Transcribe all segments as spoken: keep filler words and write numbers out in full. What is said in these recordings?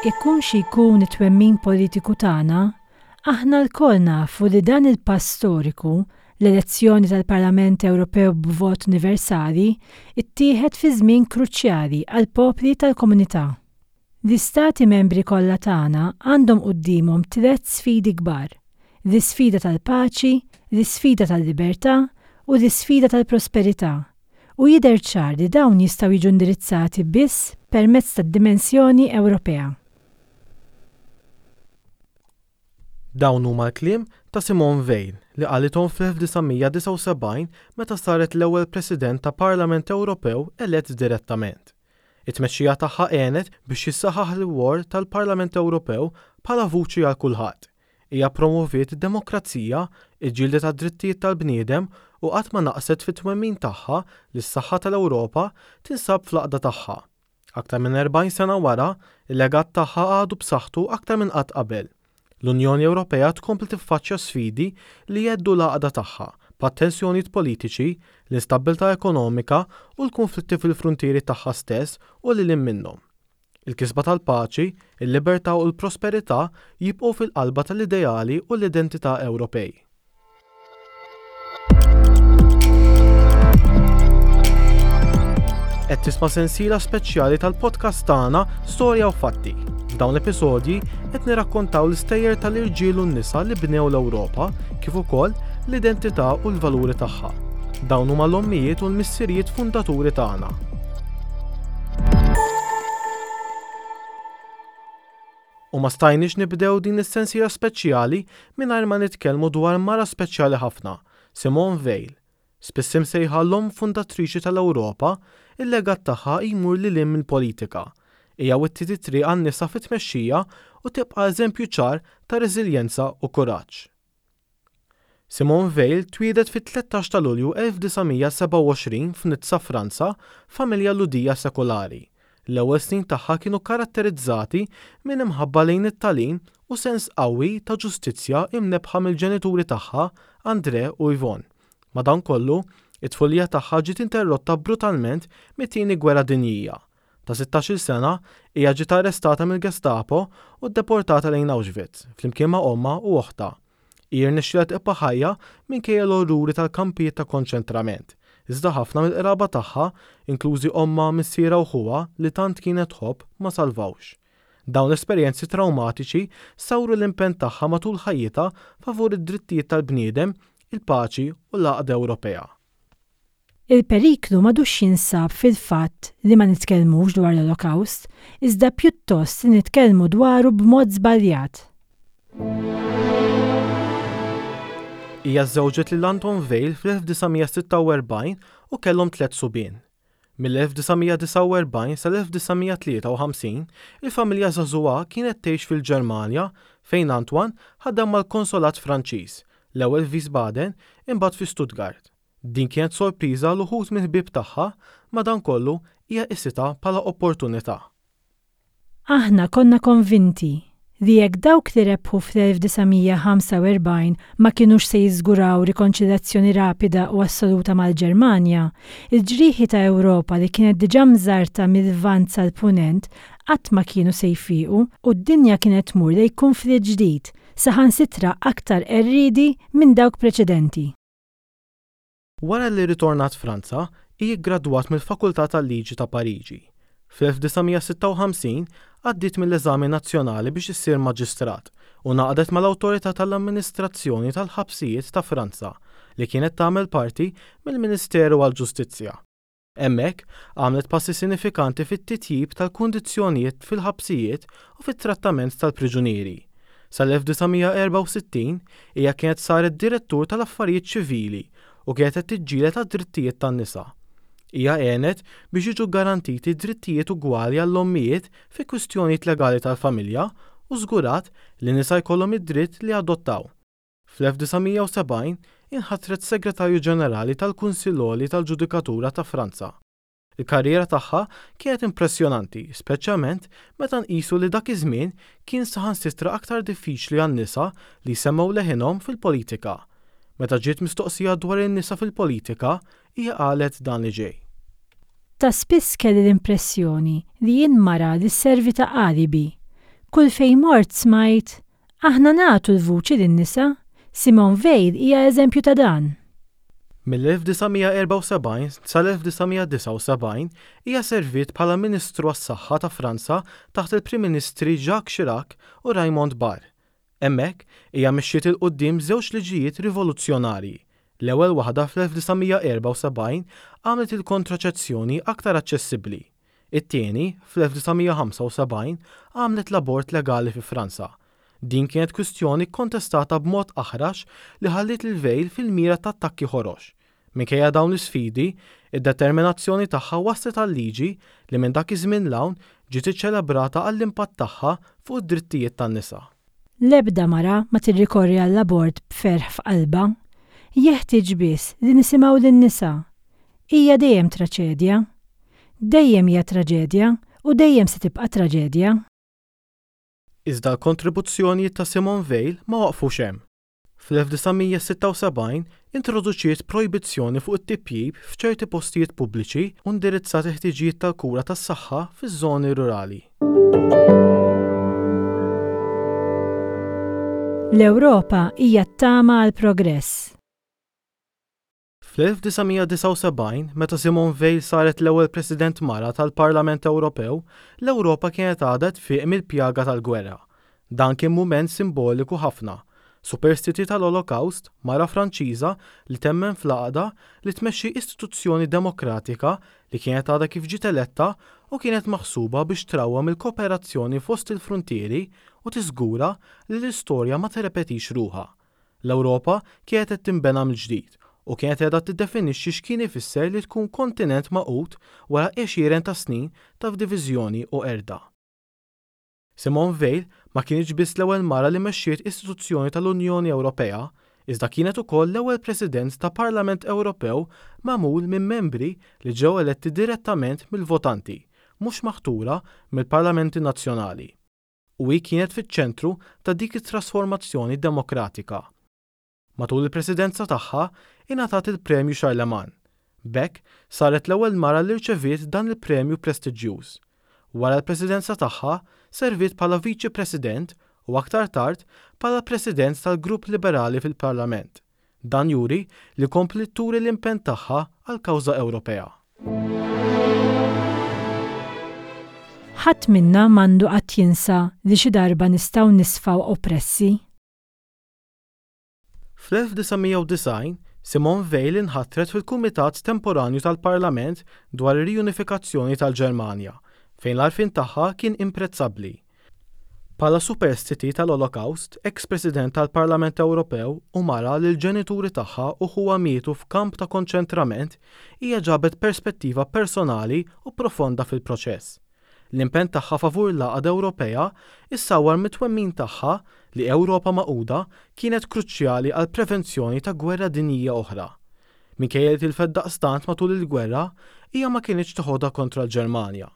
Ikun xi jkun it-twemmin politiku tagħna, aħna lkoll nafu li dan il-pass storiku, l-elezzjoni tal-Parlament Ewropew b'vot universali, ittieħed fi żmien kruċjali għall-popli tal-komunità. L-istati membri kollha tagħna għandhom quddiemhom tliet sfidi kbar: l-isfida tal-paċi, l-isfida tal-libertà u l-isfida tal-prosperità. U jidher ċar li dawn jistgħu jiġu indirizzati biss permezz tad-dimensjoni Ewropea. Dawn huma l-kliem ta' Simone Veil li qalithom fl-elf disa' mija disgħa u sebgħin meta saret l-ewwel President ta' Parlament Ewropew elett direttament. It-tmexxija tagħha għenet biex jissaħħaħ l-rwol tal-Parlament Ewropew bħala vuċi għal kulħadd. Hija ppromoviet id-demokrazija, iġġieldet għad-drittijiet tal-bniedem u qatt ma naqset fit-twemmin tagħha li s-saħħa tal-Ewropa tinsab fl-għaqda tagħha. Aktar minn erbgħin sena wara, il-legat tagħha għadu b'saħħtu aktar minn qatt qabel. L-Unjoni Ewropea tkompli tiffaċċja sfidi li jheddu l-għaqda tagħha, bħat-tensjonijiet politiċi, l-instabbiltà ekonomika u l-kunflitti fil-fruntieri tagħha stess u lil hinn minnhom. Il-kisba tal-paċi, il-libertà u l-prosperità jibqgħu fil-qalba tal-ideali u l-identità Ewropej. Qed tisma' sensiela speċjali tal-podcast tagħna Storja u Fatti. F'dawn l-episodji qed nirrakkontaw l-istejjer tal-irġiel u n-nisa li bnew l-Ewropa kif ukoll l-identità u l-valuri tagħha. Dawn huma l-ommijiet u l-missirijiet fundaturi tagħna. U ma stajniex nibdew din is-sensiela speċjali mingħajr ma nitkellmu dwar mara speċjali ħafna, Simone Veil. Spiss imsejħa l-omm fundatriċi tal-Ewropa, il-legat tagħha jmur lil hinn mill-politika. Hija wittiet it-triq għan-nisa fit-tmexxija u tibqa' eżempju ċar ta' reżiljenza u kuraġġ. Simone Veil twieldet fit-tlettax ta' Lulju elf disa' mija sebgħa u għoxrin f'Nizza, Franza, f'familja Lhudija sekulari. L-ewwel snin tagħha kienu karatterizzati minn imħabba lejn it-tagħlim u sens qawwi ta' ġustizzja imnebbħa mill-ġenituri tagħha, André u Yvonne. Madankollu, it-tfulija tagħha ġiet interrotta brutalment mit-Tieni Gwerra Dinjija. Ta' sittax-il sena, hija ġiet arrestata mill-Gestapo u ddeportata lejn Auschwitz, flimkien ma' ommha u oħtha. Hi rnexxielha tibqa' ħajja minkejja l-orruri tal-kampijiet ta' konċentrament, iżda ħafna mill-qraba tagħha, inklużi ommha, missierha u ħuha li tant kienet tħobb, ma salvawx. Dawn l-esperjenzi trawmatiċi sawru l-impenn tagħha matul ħajjitha favur id-drittijiet tal-bniedem, il-paċi u l-għaqda Ewropea. Il-periklu m'għadux jinsab fil-fatt li ma nitkellmux dwar l-Olokawst, iżda pjuttost li nitkellmu dwaru b'mod żbaljat. Hija żżewġet lil Anton Veil fl-elf disa' mija sitta u erbgħin u kellhom tliet subien. Mill-elf disa' mija disgħa u erbgħin sal-elf disa' mija tlieta u ħamsin, il-familja żagħżugħa kienet tgħix fil-Ġermanja fejn Antoine ħadem mal-konsolat Franċiż, l-ewwel f'Wiesbaden, imbagħad fi Stuttgart. Din kienet sorpriża għal uħud mill-ħbieb tagħha, madankollu hija qisitha bħala opportunità. Aħna konna konvinti li jekk dawk li rebħu fl-elf disa' mija ħamsa u erbgħin ma kinux se jiżguraw rikonċiljazzjoni rapida u assoluta mal-Ġermanja, il-ġrieħi ta' Ewropa li kienet diġà mżarrta mil-Lvant sal-Punent qatt ma kienu se jfiequ u d-dinja kienet tmur lejn kunflitt ġdid, saħansitra aktar qerriedi minn dawk preċedenti. Wara li rritornat Franza, hi ggradwat mill-Fakultà tal-Liġi ta' Pariġi. Fl-elf disa' mija sitta u ħamsin għaddiet mill-eżami nazzjonali biex issir maġistrat u ngħaqdet mal-Awtorità tal-Amministrazzjoni tal-Ħabsijiet ta' Franza li kienet tagħmel parti mill-Ministeru għall-Ġustizzja. Hemmhekk, għamlet passi sinifikanti fit-titjib tal-kundizzjonijiet fil-ħabsijiet u fit-trattament tal-priġunieri. Sal-elf disa' mija erbgħa u sittin, hija kienet saret direttur tal-affarijiet ċivili u kienet qed tiġġieled għad-drittijiet tan-nisa. Hija għenet biex jiġu ggarantiti drittijiet ugwali għall-ommijiet fi kwistjonijiet legali tal-familja u żgurat li nisa jkollhom id-dritt li jadottaw. Fl-elf disa' mija u sebgħin inħatret Segretarju Ġenerali tal-Kunsill Għoli tal-Ġudikatura ta' Franza. Il-karriera tagħha kienet impressjonanti, speċjalment meta nqisu li dak iż-żmien kien saħansitra aktar diffiċli għan-nisa li jsemmgħu leħinhom fil-politika. Meta ġiet mistoqsija dwar in-nisa fil-politika, hija qalet dan li ġej. Ta' spiss kelli l-impressjoni li jien mara li sservi ta' alibi. Kull fejn mort smajt, aħna nagħtu l-vuċi lin-nisa, Simone Veil hija eżempju ta' dan. Mill-elf disa' mija erbgħa u sebgħin sal-elf disa' mija disgħa u sebgħin hija serviet bħala Ministru għas-Saħħa ta' Franza taħt il-Prim Ministri Jacques Chirac u Raymond Barre. Hemmhekk hija mexxiet 'il quddiem żewġ liġijiet rivoluzzjonarji. L-ewwel waħda fl-elf disa' mija erbgħa u sebgħin għamlet il-kontraċezzjoni aktar aċċessibbli. It-tieni, fl-elf disa' mija ħamsa u sebgħin, għamlet l-abort legali fi Franza. Din kienet kwistjoni kontestata b'mod aħrax li ħalliet lil Veil fil-mira ta' attakki ħorox. Minkejja dawn l-isfidi, id-determinazzjoni tagħha waslet għal liġi li minn dak iż-żmien 'l hawn ġiet iċċelebrata għall-impatt tagħha fuq id-drittijiet tan-nisa. L-ebda mara ma tirrikorri għall-abort b'ferħ f'qalbha. Jeħtieġ biss li nisimgħu lin-nisa. Hija dejjem traċedja. Dejjem hija traġedja u dejjem se tibqa' traġedja. Iżda l-kontribuzzjonijiet ta' Simone Veil ma waqfux hemm. Fl-elf disa' mija sitta u sebgħin introduċiet projbizzjoni fuq it-tipjib f'ċerti postijiet pubbliċi u indirizzat il-ħtiġijiet tal-kura tas-saħħa fiż-żoni rurali. L-Ewropa hija t-tama għal progress. Fl-elf disa' mija disgħa u sebgħin, meta Simone Veil saret l-ewwel President mara tal-Parlament Ewropew, l-Ewropa kienet għadha tfiq mill-pjaga tal-gwerra. Dan kien mument simboliku ħafna. Superstiti tal-Olokawst, mara Franċiża li temmen fl-għaqda li tmexxi istituzzjoni demokratika li kienet għadha kif ġiet eletta u kienet maħsuba biex trawwem il-kooperazzjoni fost il-frontieri u tiżgura li l-istorja ma tirrepetix ruħha. L-Ewropa kienet qed tinbena mill-ġdid u kienet qiegħda tiddefinixxi x'kien ifisser li tkun kontinent magħqud wara għexieren ta' snin ta' diviżjoni u qerda. Simone Veil ma kienx biss l-ewwel mara li mexxiet istituzzjoni tal-Unjoni Ewropea, iżda kienet ukoll l-ewwel President ta' Parlament Ewropew magħmul minn membri li ġew eletti direttament mill-votanti, mhux maħtura mill-Parlamenti Nazzjonali. U hi kienet fiċ-ċentru ta' dik it-trasformazzjoni demokratika. Matul il-presidenza tagħha ingħatat il-Premju Charlemagne. B'hekk saret l-ewwel mara li rċeviet dan il-premju prestiġjuż. Wara l-presidenza tagħha serviet bħala Viċi President u aktar tard bħala President tal-Grupp Liberali fil-Parlament. Dan juri li kompli turi l-impenn tagħha għall-kawża Ewropea. Ħadd minna m'għandu qatt jinsa li xi darba nistgħu nisfaw oppressi. Fl-elf disa' mija u disgħin, Simone Veil inħatret fil-Kumitat Temporanju tal-Parlament dwar ir-riunifikazzjoni tal-Ġermanja, fejn l-għarfien tagħha kien imprezzabbli. Bħala superstiti tal-Olokawst, ex-President tal-Parlament Ewropew u mara li l-ġenituri tagħha u ħuha mietu f'kamp ta' konċentrament, hija ġabet perspettiva personali u profonda fil-proċess. L-impenn tagħha favur l-għaqda Ewropea issawwar mit-twemmin tagħha li Ewropa magħquda kienet kruċjali għal prevenzjoni ta' gwerra dinjija oħra. Minkejja li tilfet daqstant matul il-gwerra, hija ma kinitx teħodha kontra l-Ġermanja.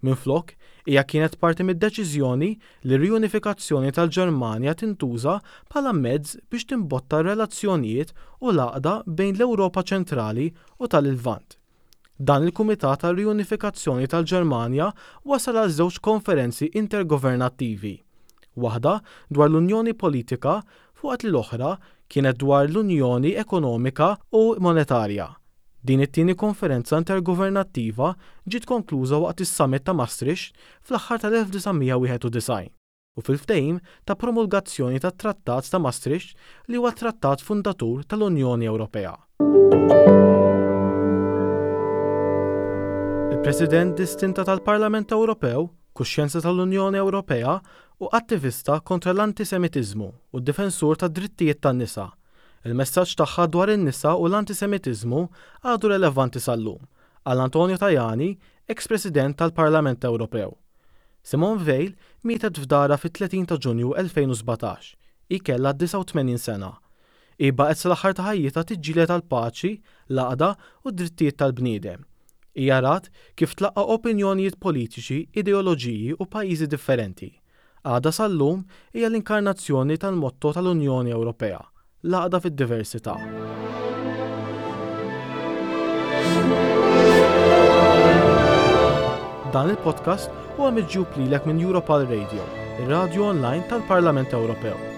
Minflok, hija kienet parti mid-deċiżjoni li r-riunifikazzjoni tal-Ġermanja tintuża bħala mezz biex timbotta r-relazzjonijiet u l-għaqda bejn l-Ewropa ċentrali u tal-Lvant. Dan il-Kumitat għal-Riunifikazzjoni tal-Ġermanja wasal għal żewġ konferenzi intergovernattivi. Waħda dwar l-Unjoni Politika fuqat li l-oħra kienet dwar l-Unjoni Ekonomika u Monetarja. Din it-tieni konferenza intergovernattiva ġiet konkluża waqt is-Summit ta' Maastricht fl-aħħar tal-elf disa' mija wieħed u disgħin u fil-ftehim ta' promulgazzjoni tat-Trattat ta' Maastricht li huwa trattat fundatur tal-Unjoni Ewropea. Il-President distinta tal-Parlament Ewropew, kuxjenza tal-Unjoni Ewropea u attivista kontra l-antisemitiżmu u d-difensur tad-drittijiet tan-nisa. Il-messaġġ tagħha dwar in-nisa u l-antisemitiżmu għadu relevanti sal-lum, għal Antonio Tajani, ex-President tal-Parlament Ewropew. Simone Veil mietet f'darha fit-tletin ta' Ġunju elfejn u sbatax. Hi kellha disgħa u tmenin sena. Hi baqgħet sal-aħħar ta' ħajjitha tiġġieled għall-paċi, l-għaqda u d-drittijiet tal-bniedem. Hija rat kif tlaqqa opinjonijiet politiċi, ideoloġiji u pajjiżi differenti. Għada sal-lum hija l-inkarnazzjoni tal-motto tal-Unjoni Ewropea, l-għaqda fid-diversità. Dan il-podcast huwa miġjub lilek minn Europal Radio, ir-radio online tal-Parlament Ewropew.